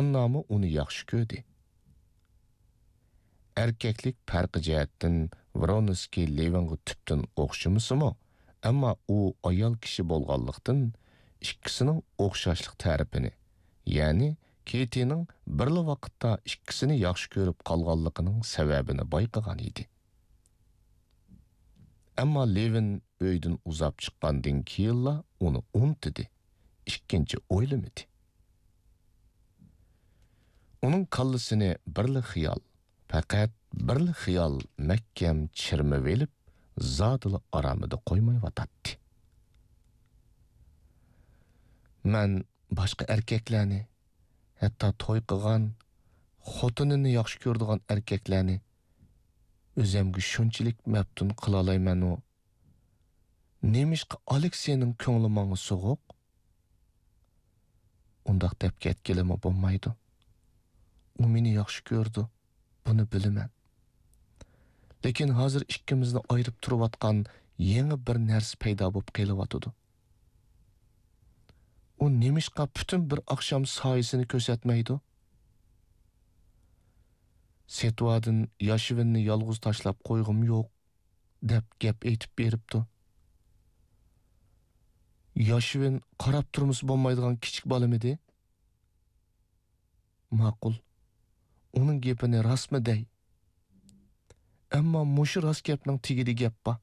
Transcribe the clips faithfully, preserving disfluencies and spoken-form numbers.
ئاننامۇ ئۇنى ياخشى كۆردى. ئەركەكلىك پەرقى جەھەتتىن ۋرونسكىي لېۋىنغا تۈپتىن ئوخشىمىسىمۇ، ئەمما ئۇ ئايال كىشى بولغانلىقتىن، ئىككىسىنىڭ ئوخشاشلىق تەرىپىنى، يەنى كېتىنىڭ بىرلا ۋاقىتتا ئىككىسىنى ياخشى كۆرۈپ قالغانلىقىنىڭ سەۋەبىنى بايقىغان ئىدى. ئەمما لېۋىن ئۆيدىن ئۇزاپ چىققاندىن كېيىنلا ئۇنى ئۇنتۇدى، ئىككىنچى ئويلىمىدى. ئۇنىڭ كاللىسىنى بىرلا خىيال، پەقەت بىرلا خىيال مەھكەم چىرمىۋېلىپ، زادىلا ئارامىدا قويمايۋاتاتتى. مەن باشقا ئەركەكلەرنى، ھەتتا توي قىلغان، خوتۇنىنى ياخشى كۆرىدىغان ئەركەكلەرنى ئۆزۈمگە شۇنچىلىك مەپتۇن قىلالايمەنۇ، نېمىشقا ئالېكسېينىڭ كۆڭلى ماڭا سوغۇق؟ ئۇنداق دەپ كەتكىلىمۇ بولمايدۇ. ئۇ مېنى ياخشى كۆرىدۇ، بۇنى بىلىمەن. لېكىن ھازىر ئىككىمىزنى ئايرىپ تۇرۇۋاتقان يېڭى بىر نەرسە پەيدا بولۇپ قېلىۋاتىدۇ. ئۇ نېمىشقا پۈتۈن بىر ئاخشام سايىسىنى كۆرسەتمەيدۇ؟ سېتۋادىن ياشىۋىننى يالغۇز تاشلاپ قويغۇم يوق، دەپ گەپ ئېيتىپ بېرىپتۇ. ياشىۋىن قاراپ تۇرمىسا بولمايدىغان كىچىك بالىمىدى؟ ماقۇل، ئۇنىڭ گېپىنى راستمۇ دەي؟ ئەمما مۇشۇ راست گەپنىڭ تېگىدە گەپ بار.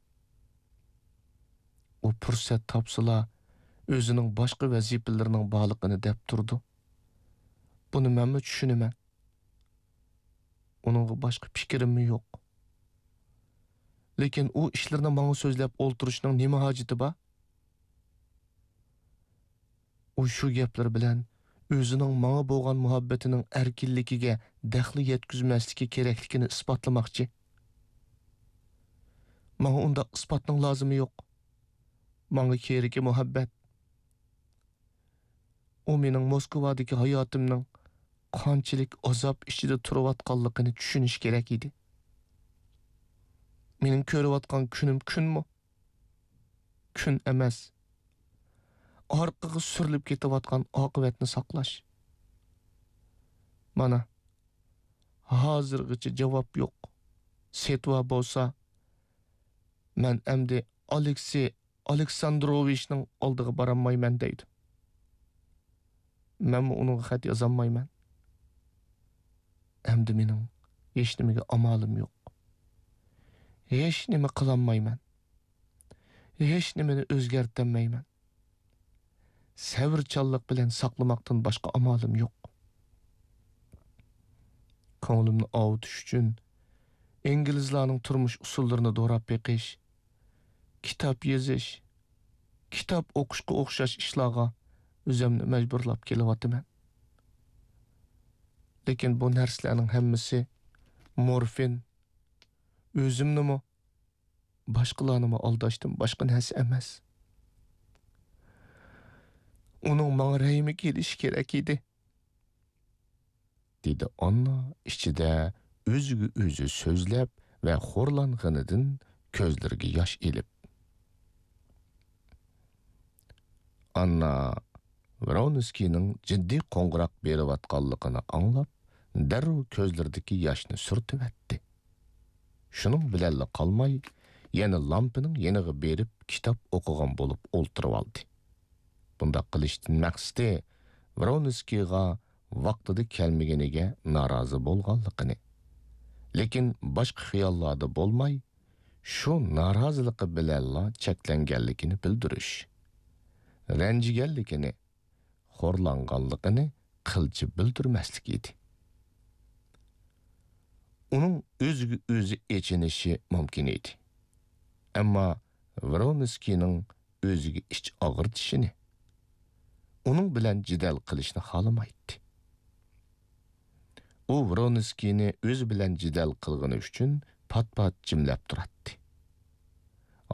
ئۇ پۇرسەت تاپسىلا، ئۆزىنىڭ باشقا ۋەزىپىلىرىنىڭ بارلىقىنى دەپ تۇرىدۇ. بۇنى مەنمۇ چۈشىنىمەن. ئۇنىڭغا باشقا پىكرىممۇ يوق. لېكىن ئۇ ئىشلىرىنى ماڭا سۆزلەپ ئولتۇرۇشنىڭ نېمە ھاجىتى بار؟ ئۇ شۇ گەپلىرى بىلەن ئۆزىنىڭ ماڭا بولغان مۇھەببىتىنىڭ ئەركىنلىكىگە دەخلى يەتكۈزمەسلىكى كېرەكلىكىنى ئىسپاتلىماقچى. ماڭا ئۇنداق ئىسپاتنىڭ لازىمى يوق. ماڭا كېرىكى مۇھەببەت. ئۇ مېنىڭ موسكۋادىكى ھاياتىمنىڭ قانچىلىك ئازاب ئىچىدە تۇرۇۋاتقانلىقىنى چۈشىنىشى كېرەك ئىدى. مېنىڭ كۆرۈۋاتقان كۈنۈم كۈنمۇ؟ كۈن ئەمەس. ئارقىغا سۈرۈلۈپ كېتىۋاتقان ئاقىۋەتنى ساقلاش. مانا، ھازىرغىچە جاۋاب يوق. سېتۋا بولسا، مەن ئەمدى ئالېكسېي ئالېكساندروۋىچنىڭ ئالدىغا بارالمايمەن دەيدۇ. مەنمۇ ئۇنىڭغا خەت يازالمايمەن. ئەمدى مېنىڭ ھېچنېمىگە ئامالىم يوق. ھېچنېمە قىلالمايمەن. ھېچنېمىنى ئۆزگەرتەلمەيمەن. سەۋرچانلىق بىلەن ساقلىماقتىن باشقا ئامالىم يوق. كۆڭلۈمنى ئاۋۇتۇش ئۈچۈن ئىنگلىزلارنىڭ تۇرمۇش ئۇسۇللىرىنى دوراپ بېقىش، كىتاب يېزىش، كىتاب ئوقۇشقا ئوخشاش ئىشلارغا ئۆزۈمنى مەجبۇرلاپ كېلىۋاتىمەن. لېكىن بۇ نەرسىلەرنىڭ ھەممىسى مورفىن، ئۆزۈمنىمۇ، باشقىلارنىمۇ ئالداشتىن باشقا نەرسە ئەمەس. ئۇنىڭ ماڭا رەھمى كېلىشى كېرەك ئىدى. دېدى ئاننا ئىچىدە ئۆزىگە ئۆزى سۆزلەپ ۋە خورلانغىنىدىن كۆزلىرىگە ياش ئېلىپ. ئاننا ۋرونسكىينىڭ جىددىي قوڭغۇراق بېرىۋاتقانلىقىنى ئاڭلاپ، دەررۇ كۆزلىرىدىكى ياشنى سۈرتۈۋەتتى. شۇنىڭ بىلەنلا قالماي، يەنە لامپىنىڭ يېنىغا بېرىپ كىتاب ئوقۇغان بولۇپ ئولتۇرۇۋالدى. بۇنداق قىلىشتىن مەقسىتى ۋرونسكىيغا ۋاقتىدا كەلمىگىنىگە نارازى بولغانلىقىنى، لېكىن باشقا خىياللاردا بولماي، شۇ نارازىلىقى بىلەنلا چەكلەنگەنلىكىنى بىلدۈرۈش، رەنجىگەنلىكىنى، خورلانغانلىقىنى قىلچە بىلدۈرمەسلىك ئىدى. ئۇنىڭ ئۆزىگە ئۆزى ئېچىنىشى مۇمكىن ئىدى. ئەمما ۋرونسكىينىڭ ئۆزىگە ئىچ ئاغرىتىشىنى، ئۇنىڭ بىلەن جېدەل قىلىشنى خالىمايتتى. ئۇ ۋرونسكىينى ئۆزى بىلەن جېدەل قىلغىنى ئۈچۈن پات-پات جىملەپ تۇراتتى.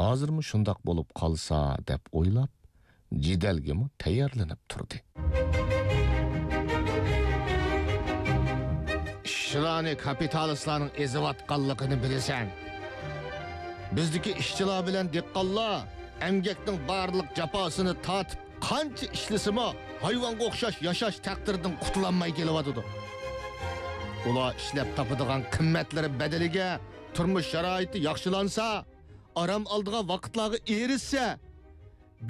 ھازىرمۇ شۇنداق بولۇپ قالسا دەپ ئويلاپ، جېدەلگىمۇ تەييارلىنىپ تۇردى. ئىشچىلارنى كاپىتالىستلارنىڭ ئېزىۋاتقانلىقىنى بىلىسەن. بىزدىكى ئىشچىلار بىلەن دېھقانلار ئەمگەكنىڭ بارلىق جاپاسىنى تارتىپ، قانچە ئىشلىسىمۇ، ھايۋانغا ئوخشاش ياشاش تەقدىرىدىن قۇتۇلالماي كېلىۋاتىدۇ. ئۇلار ئىشلەپ تاپىدىغان قىممەتلىرى بەدىلىگە تۇرمۇش شارائىتى ياخشىلانسا، ئارام ئالىدىغان ۋاقىتلارغا ئېرىشسە،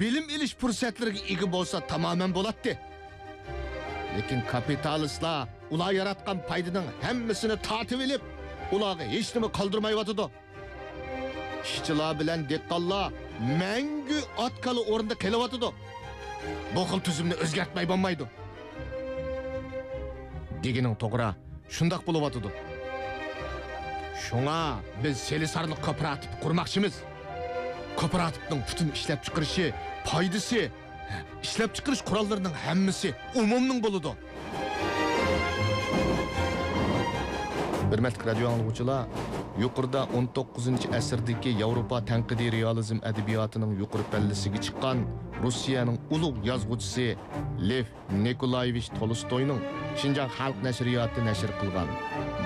بىلىم ئېلىش پۇرسەتلىرىگە ئىگە بولسا تامامەن بولاتتى. لېكىن كاپىتالىستلار ئۇلار ياراتقان پايدىنىڭ ھەممىسىنى تارتىۋېلىپ، ئۇلارغا ھېچنېمە قالدۇرمايۋاتىدۇ. ئىشچىلار بىلەن دېھقانلار مەڭگۈ ئات-كالا ئورنىدا قېلىۋاتىدۇ. بۇ خىل تۈزۈمنى ئۆزگەرتمەي بولمايدۇ. دېگىنىڭ توغرا، شۇنداق بولۇۋاتىدۇ. شۇڭا بىز سېلىسارلىق كوپىراتىپى قۇرماقچىمىز. كوپىراتىپنىڭ پۈتۈن ئىشلەپچىقىرىشى، پايدىسى، ئىشلەپچىقىرىش قوراللىرىنىڭ ھەممىسى ئومۇمنىڭ بولىدۇ. ھۆرمەتلىك رادىيو ئاڭلىغۇچىلار، يۇقىرىدا ئون توققۇزىنچى ئەسىردىكى ياۋروپا تەنقىدىي رېئالىزم ئەدەبىياتىنىڭ يۇقىرى پەللىسىگە چىققان روسىيەنىڭ ئۇلۇغ يازغۇچىسى لېف نىكولايېۋىچ تولستوينىڭ شىنجاڭ خەلق نەشرىياتى نەشر قىلغان،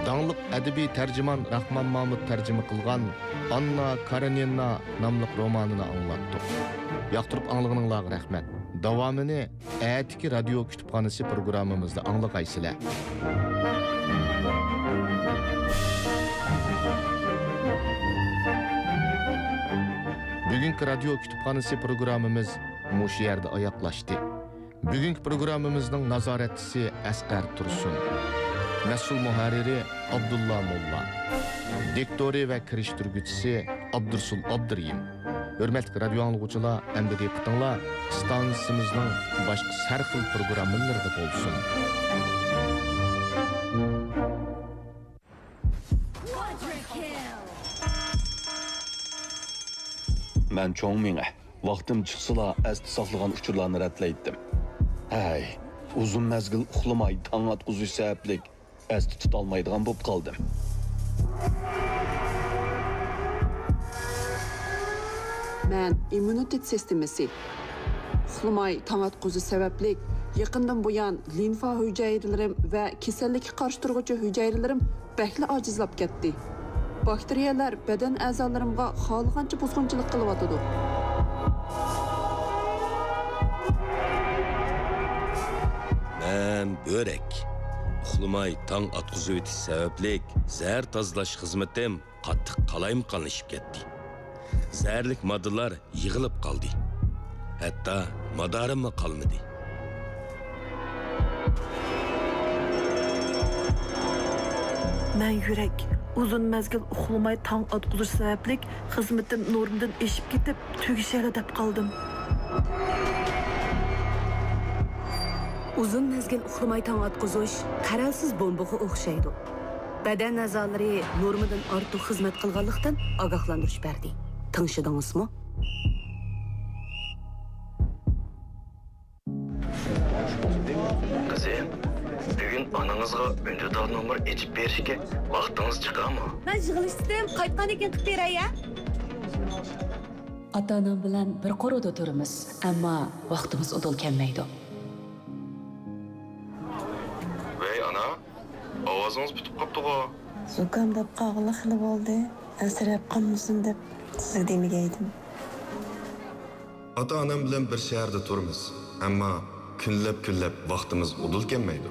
داڭلىق ئەدەبىي تەرجىمان راخمان مامۇت تەرجىمە قىلغان ئاننا كارېنىنا ناملىق رومانىنى ئاڭلاتتۇق. ياقتۇرۇپ ئاڭلىغىنىڭلارغا رەھمەت. داۋامىنى ئەتىكى رادىيو كۇتۇپخانىسى پروگراممىمىزدا ئاڭلىغايسىلەر. بۈگۈنكى رادىيو كۇتۇپخانىسى پروگراممىمىز مۇشۇ يەردە ئاياغلاشتى. بۈگۈنكى پروگراممىمىزنىڭ نازارەتچىسى ئەسقەر تۇرسۇن. مەسئۇل مۇھەررىرى ئابدۇللا موللا. دىكتورى ۋە كىرىشتۈرگۈچىسى ئابدۇرسۇل ئابدۇرېھىم. ھۆرمەتلىك رادىيو ئاڭلىغۇچىلار، ئەمدى دىققىتىڭلار ئىستانسىمىزنىڭ باشقا سەرخىل پروگراممىلىرىدا بولسۇن. مەن چوڭ مېڭە، ۋاقتىم چىقسىلا ئەستە ساقلىغان ئۇچۇرلارنى رەتلەيتتىم. ھەي، ئۇزۇن مەزگىل ئۇخلىماي تاڭ ئاتقۇزۇش سەۋەبلىك ئەستە تۇتالمايدىغان بولۇپ قالدىم. مەن ئىممۇنىتېت سىستېمىسى. ئۇخلىماي تاڭ ئاتقۇزۇش سەۋەبلىك يېقىندىن بۇيان لىمفا ھۈجەيرىلىرىم ۋە كېسەللىككە قارشى تۇرغۇچى ھۈجەيرىلىرىم بەكلا ئاجىزلاپ كەتتى. باكتېرىيەلەر بەدەن ئەزالىرىمغا خالىغانچە بۇزغۇنچىلىق قىلىۋاتىدۇ. مەن بۆرەك. ئۇخلىماي تاڭ ئاتقۇزۇۋېتىش سەۋەبلىك زەھەر تازىلاش خىزمىتىم قاتتىق قالايمىقانلىشىپ كەتتى. زەھەرلىك ماددىلار يىغىلىپ قالدى. ھەتتا مادارىممۇ قالمىدى. مەن يۈرەك. ئۇزۇن مەزگىل ئۇخلىماي تاڭ ئاتقۇزۇش سەۋەبلىك خىزمىتىم نورمىدىن ئېشىپ كېتىپ، تۈگىشەرلا دەپ قالدىم. ئۇزۇن مەزگىل ئۇخلىماي تاڭ ئاتقۇزۇش قەرەلسىز بومبىغا ئوخشايدۇ. بەدەن ئەزالىرى نورمىدىن ئارتۇق خىزمەت قىلغانلىقتىن ئاگاھلاندۇرۇش بەردى. تىڭشىدىڭىزمۇ؟ قىزىم، بۈگۈن ئانىڭىزغا ئۈندىدار نومۇر ئېچىپ بېرىشكە ۋاقتىڭىز چىقامۇ؟ مەن يىغىلىشتىم، قايتقاندىن كېيىن قىلىپ بېرەي، ھە؟ ئاتا-ئانام بىلەن بىر قورۇدا تۇرىمىز، ئەمما ۋاقتىمىز ئۇدۇل كەلمەيدۇ. ۋەي، ئانا، ئاۋازىڭىز پۈتۈپ قاپتىغۇ؟ زۇكام بولۇپ قالغىلى خېلى بولدى، ئەنسىرەپ قالمىسۇن دەپ سىزگە دېمىگەيدىم. ئاتا-ئانام بىلەن بىر شەھەردە تۇرىمىز، ئەمما كۈنلەپ-كۈنلەپ ۋاقتىمىز ئۇدۇل كەلمەيدۇ.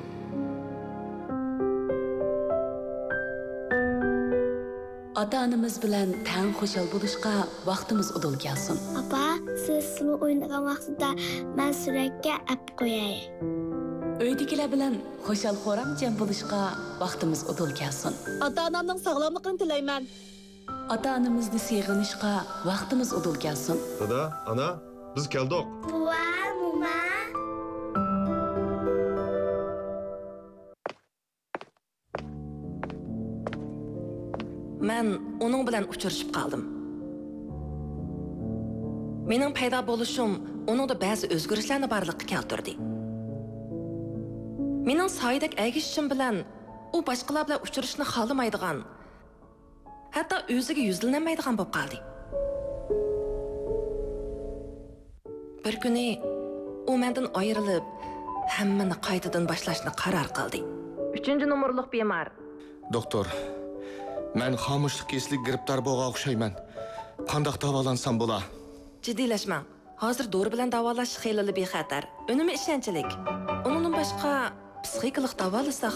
ئاتا-ئانىمىز بىلەن تەڭ خۇشال بولۇشقا ۋاقتىمىز ئۇدۇل كەلسۇن. ئاپا، سىز سۇلۇ ئوينىغان ۋاقتىدا مەن سۈرەتكە ئەپ قوياي. ئۆيدىكىلەر بىلەن خۇشال-خۇرام جەم بولۇشقا ۋاقتىمىز ئۇدۇل كەلسۇن. ئاتا-ئانامنىڭ ساغلاملىقىنى تىلەيمەن. ئاتا-ئانىمىزنى سېغىنىشقا ۋاقتىمىز ئۇدۇل كەلسۇن. دادا، ئانا، بىز كەلدۇق. بوۋا، موما. مەن ئۇنىڭ بىلەن ئۇچرىشىپ قالدىم. مېنىڭ پەيدا بولۇشۇم ئۇنىڭدا بەزى ئۆزگىرىشلەرنى بارلىققا كەلتۈردى. مېنىڭ سايىدەك ئەگىشىشىم بىلەن ئۇ باشقىلار بىلەن ئۇچرىشىشنى خالىمايدىغان، ھەتتا ئۆزىگە يۈزلىنەلمەيدىغان بولۇپ قالدى. بىر كۈنى ئۇ مەندىن ئايرىلىپ، ھەممىنى قايتىدىن باشلاشنى قارار قىلدى. ئۈچىنچى نومۇرلۇق بىمار. دوختۇر، مەن خامۇشلۇق كېسىلىگە گىرىپتار بولغان ئوخشايمەن. قانداق داۋالانسام بولا؟ جىددىيلەشمەڭ. ھازىر دورا بىلەن داۋالاش خېلىلا بىخەتەر. ئۈنۈمى ئىشەنچلىك. ئۇنىڭدىن باشقا، پسىخىكىلىق داۋالىساق